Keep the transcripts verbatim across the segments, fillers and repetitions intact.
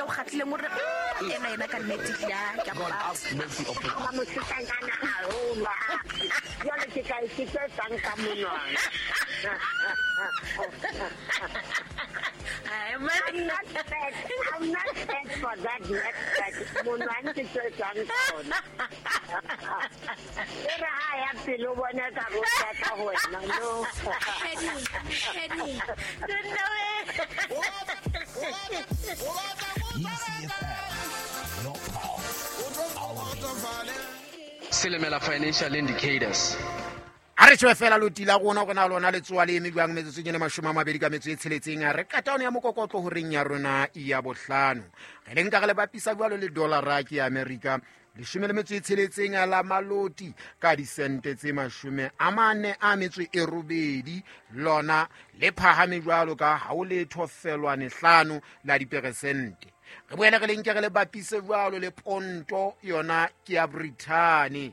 o kgatlhileng o re ena ena ka nnete ya ke God have mercy upon Ba mosetsanyana haholo. Jwale ke tla ke tlo etsang ka monwana. Ai, man. I'm not fat. I'm not fat for that next fat. Monwana ke tlo etsang tsona. E re ha ya pele o bona ka go tla ho wena no. P C F M, your pulse, our beat. Silimela Financial Indicators. A re tjhe fela loti la rona hore na lona le tsoa le eme jwang metsotsong e mashome a mabedi ka metso e tsheletseng. A re qeta yona ya mokokotlo horeng ya rona ya bohlano. Re le nka re le bapisa jwalo le dollar ke ya America leshome le metso e tsheletseng la maloti ka disente tse mashome a mane a metso e robedi, lona le phahame jwalo ka ha o letho felwane hlano la diperesente. Re boele re le nke re le bapise jwalo le ponto yona ke ya Britain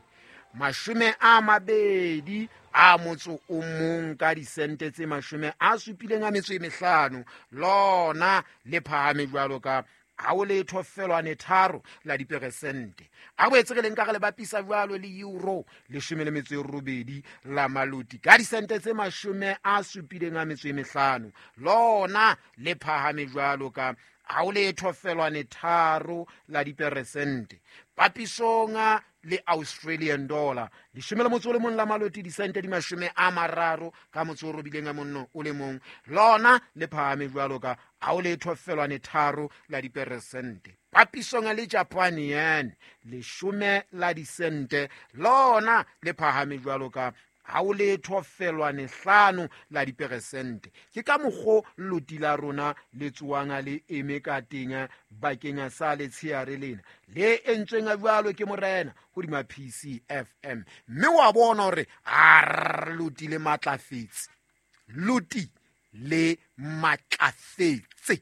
mashome a mabedi a motso o mong ka disente tse mashome a supileng a metso e mehlano, lona le phahame jwalo ka ha o letho felwane tharo la diperesente. A boetse re le nka re le bapisa jwalo le euro leshome le metso e robedi la maloti ka disente tse mashome a supileng a metso e mehlano, lona le phahame jwalo ka ha o letho felwane tharo la diperesente. Papisong le Australian dollar leshome le motso o le mong la maloti disente di mashome a mararo ka motso o robileng a monno o le mong, lona le phahame jwalo ka ha o letho felwane tharo la diperesente. Papisong le Japan yen leshome la disente, lona le phahame jwalo ka ha o letho felwane hlano la diperesente. Ke ka mokgo loti la rona le tsoang le eme ka teng bakeng sa letsheare lena le entsweng jwalo ke morena hodima P C F M. Mme wa bona hore a loti le matlafetse, loti le matlafetse.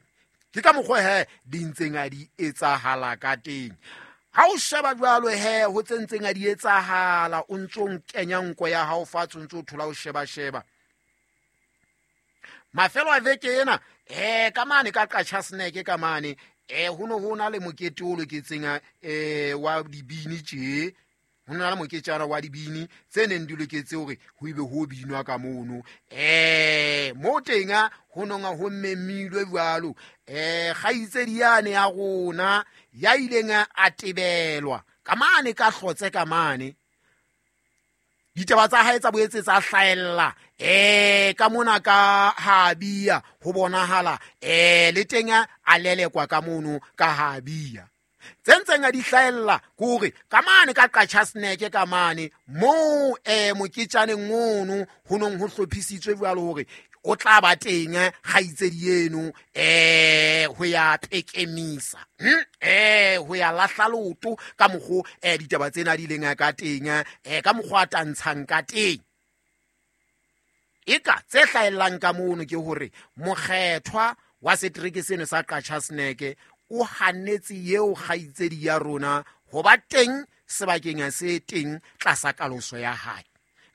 Ke ka mokgo he di ntseng a di etsahala ka teng. Ha o sheba jwalo he ho tse ntseng a di etsahala, o ntso kenya nko ya hao fatshe, o ntso thola o sheba sheba. Mafelo a veke ena eh ka mane ka Qacha Snack ka mane eh ho no ho na le mokete o loketseng eh wa dibini tje. Ho na le moketjana wa dibini tse neng di loketse hore ho ibe ho binwa ka mono. Eh mo teng ho nonga ho memilwe jwalo eh kgaitsedi yane ya rona ya ileng a tebelwa ka mane ka hlotse ka mane. Ditaba tsa hae tsa boetse tsa hlaella eh ka mona ka Habia ho bonahala eh le teng a lelekwa ka mono ka Habia. Tse ntseng a di hlaella ke hore ka mane ka Qacha Snack ka mane moo eh moketjaneng ono ho nong ho hlophisitswe jwalo hore o tla ba teng kgaitsedi eno eh ho ya pekemisa eh ho ya lahla loto ka mokgo eh ditaba tsena di ileng ka teng eh ka mokgwa a tantshang ka teng. Eka tse hlaellang ka mono ke hore mokgethwa wa setereke seno sa Qacha Snack o hanetse eo kgaitsedi ya rona ho ba teng sebakeng se teng tlasa kaloso ya hae.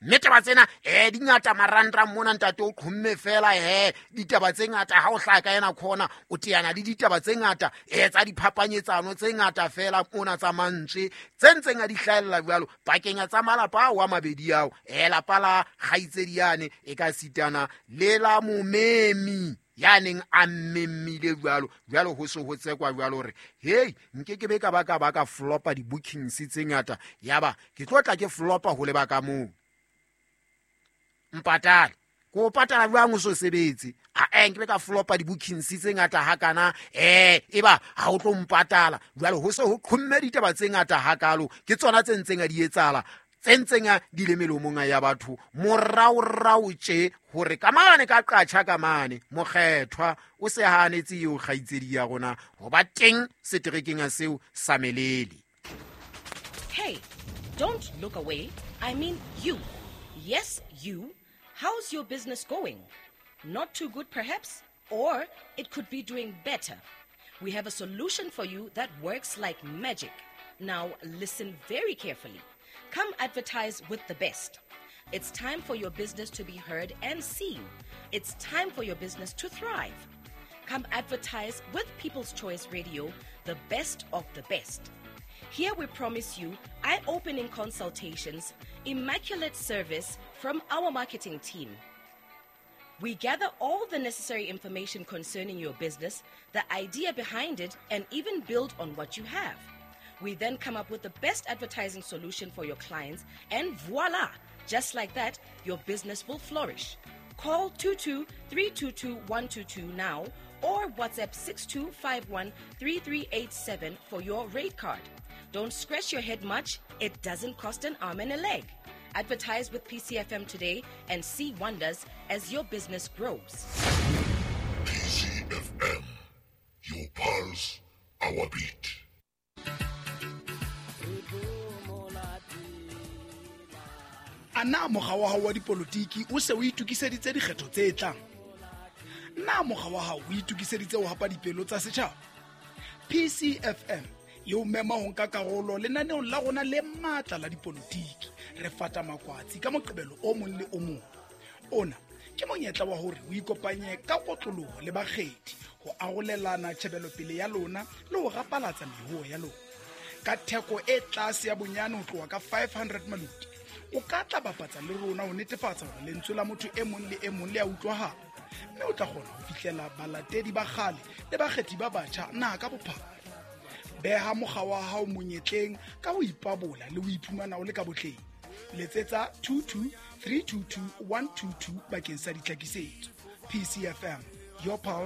Mme taba tsena eh di ngata marangrang mona ntate o qhomme fela he ditaba tse ngata ha o hlaka ka yena khona o teana le ditaba tse ngata eh tsa diphapanyetsano tse ngata fela mona tsa mantswe tse ntseng a di hlaella jwalo pakeng tsa malapa ao a mabedi ao eh lapa la kgaitsedi yane e ka sitana le la momemi ya neng a mmemmile jwalo jwalo ho se ho tsekwa jwalo hore hey nke ke be ka ba ka ba ka flopa di-bookings tse ngata yaba ke tlo tla ke flopa ho leba ka moo mpatale ko patala jwang o so sebetse a eh nke be ka flopa di-bookings tse ngata hakana eh eba ha o tlo mpatala jwalo ho se ho qhomme ditaba tse ngata hakalo ke tsona tse ntseng a di etsahala tse ntseng di le melomong ya batho moraorao tje hore ka mane ka Qacha ka mane mokgethwa o se hanetse eo kgaitsedi ya rona ho ba teng seterekeng seo sa Melele. Hey, don't look away. I mean you. Yes, you. How's your business going? Not too good perhaps, or it could be doing better. We have a solution for you that works like magic. Now listen very carefully. Come advertise with the best. It's time for your business to be heard and seen. It's time for your business to thrive. Come advertise with People's Choice Radio, the best of the best. Here we promise you eye-opening consultations, immaculate service from our marketing team. We gather all the necessary information concerning your business, the idea behind it, and even build on what you have. We then come up with the best advertising solution for your clients, and voila! Just like that, your business will flourish. Call two two three two two one two two now or WhatsApp six two five one three three eight seven for your rate card. Don't scratch your head much. It doesn't cost an arm and a leg. Advertise with P C F M today and see wonders as your business grows. P C F M, your pulse, our beat. A na mokga wa hao wa dipolotiki o se o itokiseditse dikgetho tse tlang? Na mokga wa hao o itokiseditse ho hapa dipelo tsa setjhaba? P C F M e o mema ho nka karolo lenaneong la rona le matla la dipolotiki. Re fata makwatsi ka Moqebelo o mong le o mong. Ona ke monyetla wa hore o ikopanye ka kotloloho le bakgethi ho arolelana tjhebelopele ya lona le ho rapalatsa mehuo ya lona. Ka theko e tlase ya bonyane ho tloha ka five hundred maluti, o ka tla bapatsa le rona ho netefatsa hore lentswe la motho e mong le e mong le a utlwahala, mme o tla kgona ho fihlela balatedi ba kgale le bakgethi ba batjha naha ka bophara. Beha mokga wa hao monyetleng ka ho ipabola le ho iphumana o le ka botleng. Letsetsa two two three two two one two two bakeng sa ditlhakisetso. P C F M, your pulse,